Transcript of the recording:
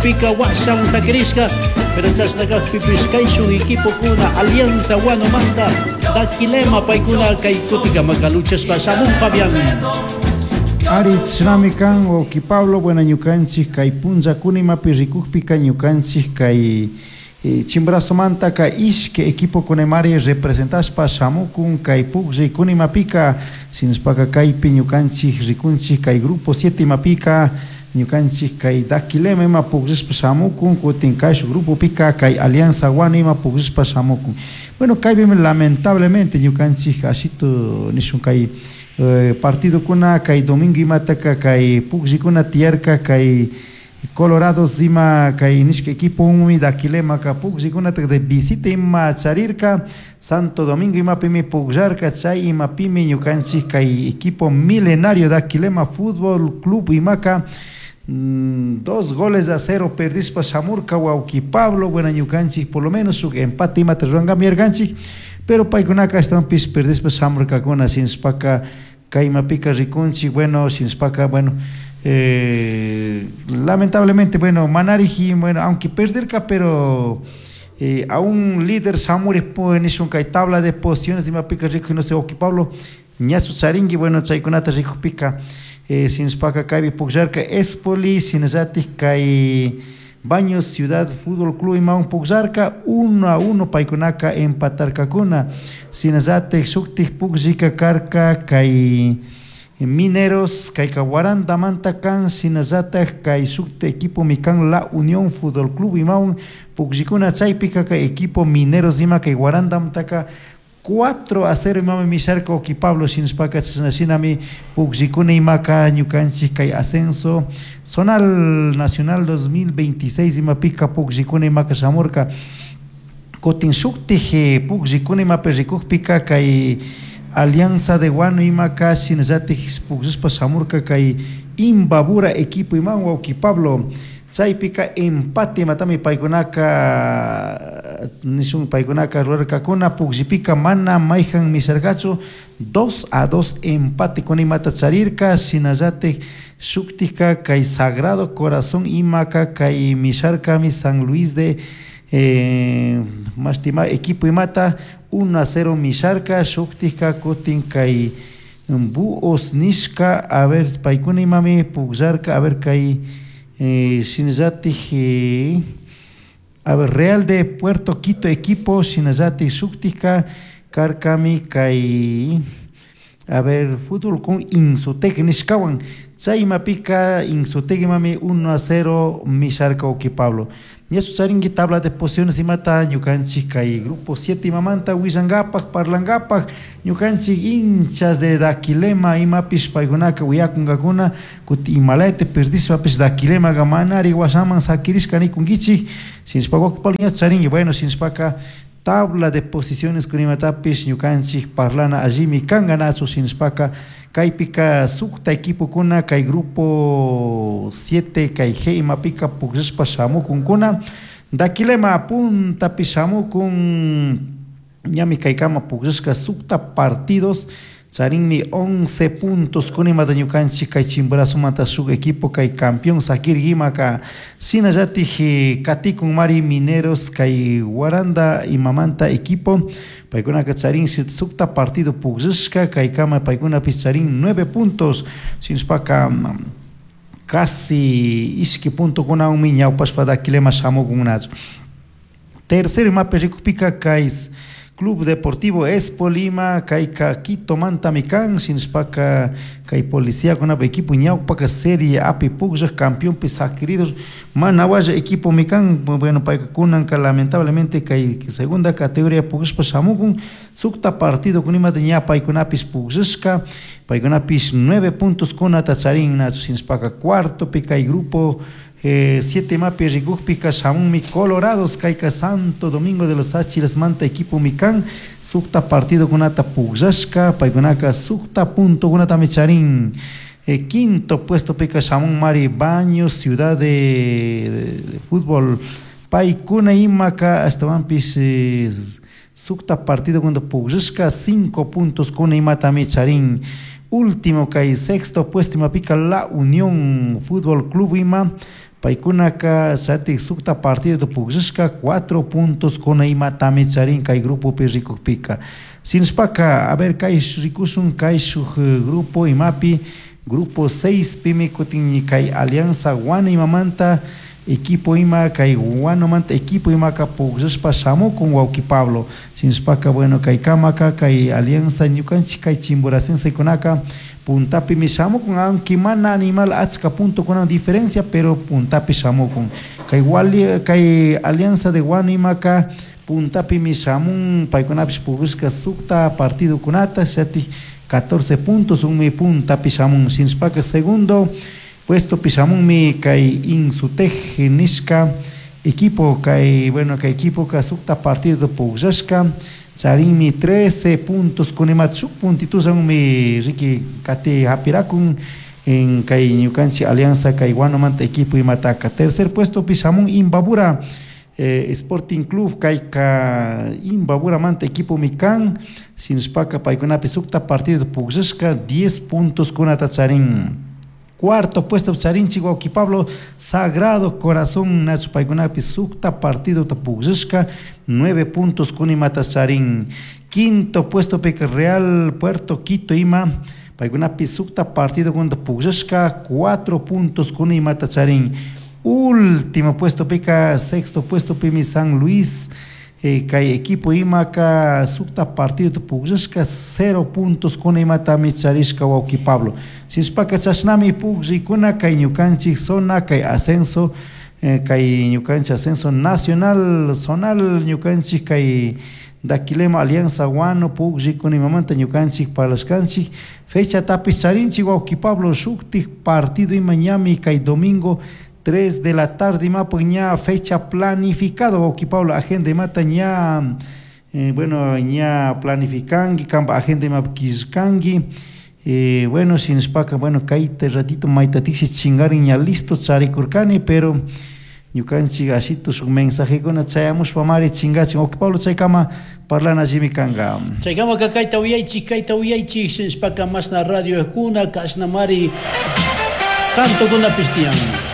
Pugllipika washan sakirishka, pero chashna kajpipish kayshun equipokuna Alianza Huanomanta, Daquilema paykuna kay kutikamaka luchashpa shamun, Fabián. Ari, chashnami kan, wawki Pablo. Bueno, ñukanchik kay punllakuna imapi rikukpika ñukanchik kay Chimborazomantaka ishki equipokunamari representashpa shamukun kay pukllaykunamapika. Shinashpaka kaypi ñukanchik rikunchik kay grupo 7 imapika ñukanchik kay Daquilema ima pukllashpa shamukun, kutin kayshuk grupopika kay Alianza Huano ima pukllashpa shamukun. Bueno, kaypimi lamentablemente ñukanchik ashitu nishun kay partidokuna kay domingo imataka kay pukllikuna tiyarka kay Colorados ima kay nishka equipo Daquilemaka pukllikunata de visita ima charirka. Santo Domingo imapimi pukllarka. Chay imapimi ñukanchik kay equipo milenario Daquilema Fútbol Club imaka 2 goles a 0 perdishpa shamurka, wawki Pablo. Bueno, ñukanchik por lo menos shuk empate imata rurankami yarkanchik, pero paykunaka ashtawanpish perdishpa shamurkakuna. Shinashpaka kay imapika rikunchik, bueno, shinashpaka, bueno, lamentablemente, bueno, manariji, bueno, aunque perderka, pero aún líder shamuri nishun kay tabla de posiciones imapika rikuy, no sé, wawki Pablo, ñachu charinki, bueno, chaykunata rikukpika. Shinashpaka kaypi pukllarka Espoli, shinallatik kay Baños Ciudad Fútbol Club imawan pukllarka, 1-1 paykunaka empatarkakuna. Shinallatik shuktik pukllika karka kay Mineros, kayka Huarandamanta kan, shinallatak kay shukta equipo kan La Unión Fútbol Club imawan pukllikuna. Chaypika kay equipo Mineros ima kay Huarandamantaka 4-0 imami misharka, wawki Pablo. Shinashpaka chashna shinami pukllikuna imaka ñukanchik kay ascenso zonal nacional 2026 imapika pukllikuna imaka shamurka. Kutin shuktik pukllikuna imapi rikukpika kay Alianza de Huano imaka shinallatik pukllashpa shamurka kay Imbabura equipo iman, wawki Pablo. Chaypika empate imatami paykunaka nishun paykunaka rurarkakuna. Pukllipika mana mayjan misharkachu, 2-2 empate kuna imata charirka. Shinallatik shuktika kay Sagrado Corazón imaka kay misharkami San Luis de mashtima equipo imata, 1-0 misharka. Shuktika kutin kay Búhos nishka, a ver, paykuna imami pukllarka, a ver, kay shinallatik a ver, Real de Puerto Quito equipo. Shinallatik shuktika karkami kay, a ver, fútbol con Insutec nishkawan. Chay imapika Insutec imami 1-0 misharka, wawki Pablo. Ñachu charinki tabla de posiciones imata ñukanchik kay grupo 7 imamanta willankapak, parlankapak? Ñukanchik hinchas de Daquilema imapish paykunaka wiyakunkakuna. Kutin imalayta perdishpapish Daquilemaka manari washaman sakirishka nikunkichik. Shinashpa, wawki Pablo, ñachu charinki? Bueno, shinashpaka tabla de posiciones kunimatapish ñukanchik parlana allimi kanka, nachu? Shinashpaka kaypika sukta equipokuna kay grupo 7 kay G imapika pukllashpa shamukunkuna. Daquilema puntapi shamukun, ñami kaykama pukllashka sukta partidos, charinmi 11 puntos kunimata ñukanchik kay Chimborazomanta shuk equipo kay campeón sakirkimaka. Shinallatik katikun mari Mineros kay Huaranda imamanta equipo, paykunaka charin sukta partido pukllashka kaykama, paykunapish charin 9 puntos. Shinashpaka casi ishki puntokunawanmi ñawpashpa Daquilema shamukunnachu. Tercero imapi rikukpika kay Club Deportivo Espolima, kayka Quitomantami kan. Shinashpaka kay policiakunapa equipo ñawpaka Serie Api pukllak, campeonpi sakiridos, mana walla equipomi kan. Bueno, payka kunanka lamentablemente kay segunda categoría pukllashpa shamukun. Sukta partido kunimata ña paykunapish pukllashka, paykunapish 9 puntos kunata charin, nachu? Shinashpaka cuartopi kay grupo 7 imapi rikukpika shamunmi Colorados, kayka Santo Domingo de los Tsáchilas equipo kan, sukta partido kunata pukllashka, paykunaka sukta punto kunatami charin. Quinto puesto pika shamun mari Baños Ciudad de Fútbol, paykuna imaka ashtawanpish sukta partido kunata pukllashka, 5 puntos kuna imatami charin. Último kay sexto puesto imapika La Unión Fútbol Club ima. Paykunaka chatik sukta partido pukllashka 4 puntos kuna imatami charin kay grupopi rikukpika. Sinshpaka, a ver, kay rikushun kay shuk grupo imapi, grupo 6 pimi kutin kay Alianza Guano imamanta equipo ima kay Guanomanta equipo imaka pukllashpa shamukun wawki Pablo. Sinshpaka, bueno, kay kamaka kay Alianza ñukanchik kay Chimboracensekunaka puntapimi shamukun, aunque mana animal achka puntokunawan diferencia, pero puntapi shamukun. Kay wali, kay Alianza de Guano imaka puntapimi shamun, paykunapish pukllashka sukta partidokunata, shatik 14 puntos unmi puntapi shamun. Sinshpaka segundo puesto pishamunmi kay Insutej nishka equipo, kay, bueno, kay equipo ka sukta partido pukllashka charinmi 13 puntos kunimat shuk puntitusanmi riki kati hapirakun en kay ñukanchik Alianza kay Guanomanta equipo imataka. Tercer puesto pishamun Imbabura Sporting Club, kayka Imbaburamanta equipo mi kan, sinshpaka paykunapi sukta partido pukllashka 10 puntos kunata charin. Cuarto puesto charinchik wawki Pablo, Sagrado Corazón nachu paykunapi sukta partido pukllashka 9 puntos kunimata charin. Quinto puesto pika Real Puerto Quito ima paykunapi sukta partido kunata pukllashka 4 puntos kunimata charin. Último puesto pika, sexto puesto pimi San Luis, kay equipo imaka sukta partido pukllashka 0 puntos kuna imatami charishka wawki Pablo. Sinshpaka chashnami pukllikuna kay ñukanchik zona kay ascenso, kay ñukanchik ascenso nacional zonal ñukanchik kay Daquilema Alianza Guano pukllikuna imamanta ñukanchik parlashkanchik. Fecha tapis charinchik wawki Pablo, shuktik partido ima ñami kay domingo 3 de la tarde imapuk ña fecha planificado wawki Pablo, agenda imata ña, bueno, ña planificanki, kanpa agenda imapuk killkanki. Bueno, sinshpaka, bueno, kayta ratito maytatiksi chingarin ña listo charikurkani, pero ñukanchik ashitu shuk mensajekuna chayamushpa mari chingachin. Wawki Pablo, chaykama parlana shimi kanka. Chaykamaka kayta uyaychik, kayta uyaychik, sinshpaka mashna radio kuna, kashna mari cantokunapish tiyan.